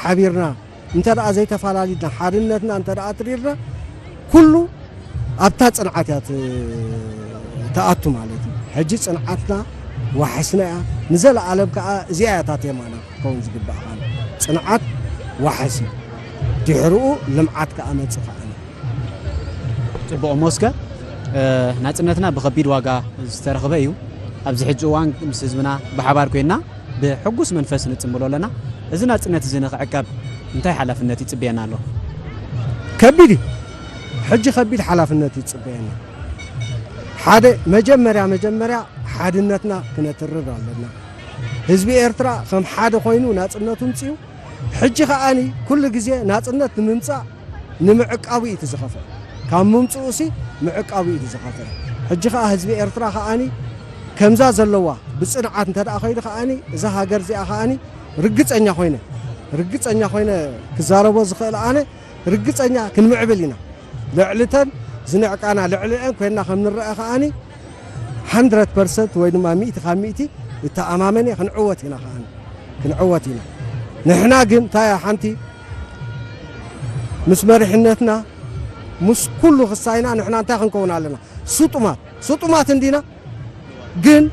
ሓቢርና እንተ ደኣ ዘይተፈላለድና፣ ሓድነትና እንተ ደኣ ኣትሪርና፣ ኩሉ ኣብታ ጽንዓት እያ ት-፣ ትኣቱ ማለት እዩ። ሕጂ ጽንዓትና ዋሕስና እያ። ንዘለኣለም ከኣ እዚኣ እያ እታ ቴማና ክትከውን ዝግባእ። ጽንዓት ዋሕስ እዩ። ድሕርኡ ልምዓት ከኣ መጽእ ከኣ እዩ። ጽቡቕ እሞ እስከ፣ እ፣ ናጽነትና ብኸቢድ ዋጋ ዝተረኽበ እዩ። ኣብዚ ሕጂ እዋን ምስ ህዝብና ብሓባር ኮይንና ብሕጉስ መንፈስ ንጽምብሎ ኣለና። እዚ ናጽነት እዚ ንኽዕቀብ እንታይ ሓላፍነት ይጽበየና ኣሎ? ከቢድ እዩ። ሕጂ ከቢድ ሓላፍነት ይጽበየና። ሓደ፣ መጀመርያ መጀመርያ ሓድነትና ክነትርር ኣለና። ህዝቢ ኤርትራ ከም ሓደ ኮይኑ ናጽነቱ ምጽኡ። ሕጂ ከኣኒ ኩሉ ግዜ ናጽነት ንምምጻእ ንምዕቃቡ እዩ እቲ ዝኸፍእ። ካብ ምምጽኡሲ ምዕቃቡ እዩ እቲ ዝኸፍእ። ሕጂ ከኣ ህዝቢ ኤርትራ ከኣኒ ከምዛ ዘለዋ ብጽንዓት እንተ ደኣ ኸይዱ ከኣኒ እዛ ሃገር እዚኣ ከኣኒ ርግጸኛ ኮይነ፣ ርግጸኛ ኮይነ ክዛረቦ ዝኽእል ኣነ ርግጸኛ ክንምዕብል ኢና። ልዕሊ እተን ዝንዕቃና ልዕሊአን ኮይንና ከም ንረአ ከኣኒ ሓንድረድ ፐርሰንት ወይ ድማ ሚእቲ ካብ ሚእቲ እተኣማመን እየ። ክንዕወት ኢና ከኣኒ፣ ክንዕወት ኢና። ንሕና ግን እንታይ እያ ሓንቲ ምስ መሪሕነትና ምስ ኩሉ ክሳይና ንሕና እንታይ ክንከውን ኣለና? ስጡማት፣ ስጡማት እንዲና ግን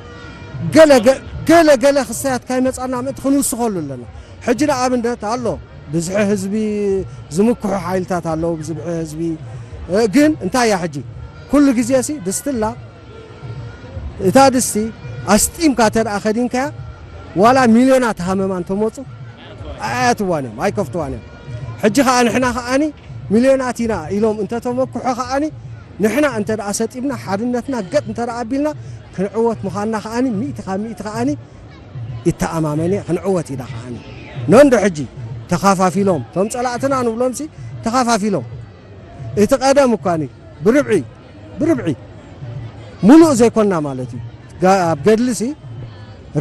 ገለ ገ-፣ ገለ ገለ ክሳያት ካይመጻና ምእንቲ ክንውስኸሉ ኣለና። ሕጂ ንኣብነት ኣሎ ብዝሒ ህዝቢ ዝምክሑ ሓይልታት ኣለዉ፣ ብዝብሒ ህዝቢ። እ፣ ግን እንታይ እያ ሕጂ? ኩሉ ግዜ ሲ ድስትላ እታ ድስቲ ኣስጢምካ እንተ ደኣ ከዲንካያ ዋላ ሚልዮናት ሃመማ እንተመጹ ኣያትዋን እዮም፣ ኣይከፍትዋን እዮም። ሕጂ ከኣ ንሕና ከኣኒ ሚልዮናት ኢና ኢሎም እንተተመክሑ ከኣኒ ንሕና እንተ ደኣ ሰጢምና ሓድነትና ገጥ እንተ ደኣ ኣቢልና ክንዕወት ምዃንና ከኣኒ ሚእቲ ካብ ሚእቲ ከኣኒ ይተኣማመን እየ። ክንዕወት ኢና ከኣኒ። ነንዶ ሕጂ ተኻፋፊሎም፣ እቶም ጸላእትና ንብሎምሲ ተኻፋፊሎም። እቲ ቀደም እኳኒ ብርብዒ፣ ብርብዒ፣ ሙሉእ ዘይኮንና ማለት እዩ። ጋ-፣ ኣብ ገድልሲ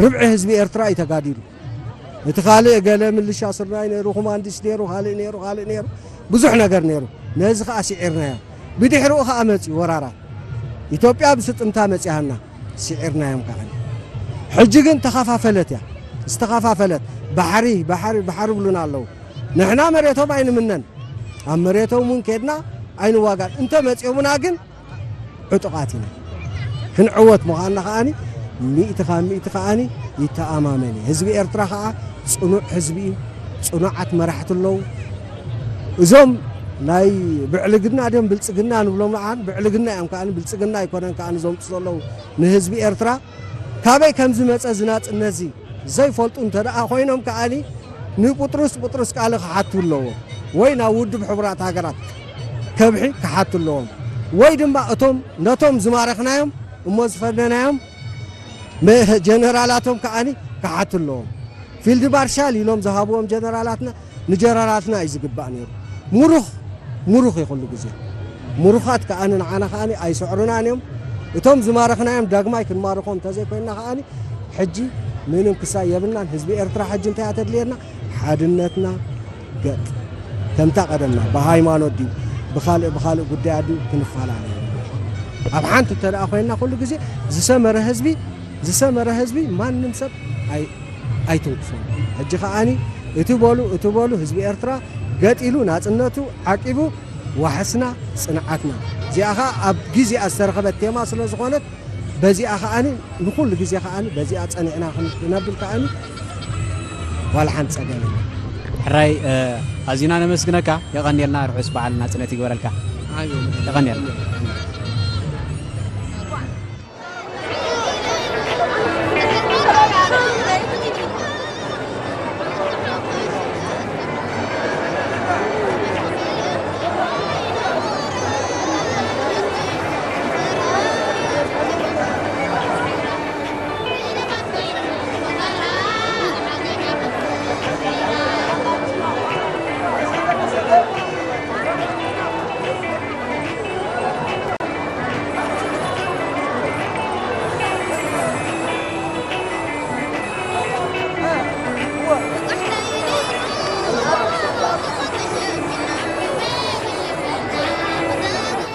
ርብዒ ህዝቢ ኤርትራ እዩ ተጋዲሉ። እቲ ካልእ ገለ ምልሻ ስርናይ ነይሩ፣ ኮማንዲስ ነይሩ፣ ካልእ ነይሩ፣ ካልእ ነይሩ፣ ብዙሕ ነገር ነይሩ። ነዚ ኸኣ ስዒርናዮ። ብድሕሪኡ ኸኣ መጽዩ ወራራት። ኢትዮጵያ ብስጥምታ መጺኣና፣ ስዒርናዮም ከኣ። ሕጂ ግን ተኸፋፈለት እያ፣ ዝተኸፋፈለት። ባሕሪ፣ ባሕሪ፣ ባሕሪ ብሉና ኣለዉ። ንሕና መሬቶም ኣይንምነን። ኣብ መሬቶም እውን ከድና ኣይንዋጋን። እንተ መጺኦምና ግን ዕጡቓት ኢና። ክንዕወት ምዃንና ከኣኒ ሚእቲ ካብ ሚእቲ ከኣኒ ይተኣማመን እዩ። ህዝቢ ኤርትራ ከኣ ጽኑዕ ህዝቢ እዩ። ጽኑዓት መራሕቲ ኣለዉ። እዞም ናይ ብዕልግና ድዮም ብልጽግና ንብሎም ንዓን ብዕልግና እዮም ከኣኒ ብልጽግና ኣይኮነን ከኣኒ ዘምጽኡ ዘለዉ ንህዝቢ ኤርትራ። ካበይ ከም ዝመጸ እዚ ናጽነት እዚ ዘይፈልጡ እንተ ደኣ ኮይኖም ከኣኒ ንቁጥሩስ ቁጥሩስ ቃል ክሓቱ ኣለዎም፣ ወይ ናብ ውድብ ሕቡራት ሃገራት ከብሒ ክሓቱ ኣለዎም፣ ወይ ድማ እቶም ነቶም ዝማረኽናዮም እሞ ዝፈነናዮም መ-፣ ጀነራላቶም ከኣኒ ክሓቱ ኣለዎም። ፊልድ ማርሻል ኢሎም ዝሃብዎም ጀነራላትና ንጀነራላትና እዩ ዝግባእ ነይሩ። ሙሩኽ፣ ሙሩኽ እዩ ኩሉ ግዜ። ሙሩኻት ከኣኒ ንዓና ከኣኒ ኣይስዕሩናን እዮም። እቶም ዝማረኽናዮም ዳግማይ ክንማርኾም እንተዘይኮይንና ከኣኒ ሕጂ ምንም ክሳይ የብልናን። ህዝቢ ኤርትራ ሕጂ እንታይ እያ ተድልየና? ሓድነትና ገጥ። ከምታ ቀደምና ብሃይማኖት ድዩ ብኻልእ ብኻልእ ጉዳያት ድዩ ክንፈላለ። ኣብ ሓንቲ እንተ ደኣ ኮይንና ኩሉ ግዜ ዝሰመረ ህዝቢ፣ ዝሰመረ ህዝቢ ማንም ሰብ ኣይ-፣ ኣይትንክፎን። ሕጂ ከኣኒ እቲ በሉ፣ እቲ በሉ ህዝቢ ኤርትራ ገጢሉ ናጽነቱ ዓቂቡ ዋሕስና ጽንዓትና። እዚኣ ኸኣ ኣብ ግዜኣ ዝተረኸበት ቴማ ስለ ዝኾነት በዚኣ ከኣኒ ንኹሉ ግዜ ከኣኒ በዚኣ ጸኒዕና ክንነብል ከኣኒ ዋላ ሓንቲ ጸገም የለን። ሕራይ፣ እ፣ ኣዚና ነመስግነካ። የቐንየልና። ርሑስ በዓል ናጽነት ይግበረልካ። የቐንየልና።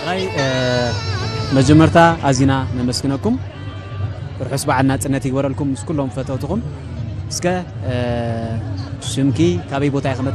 ሕራይ፣ እ፣ መጀመርታ ኣዚና ነመስግነኩም። ርሑስ በዓል ናጽነት ይግበረልኩም ምስ ኩሎም ፈተውትኹም። እስከ፣ እ፣ ሽምኪ ካበይ ቦታ ኢኺ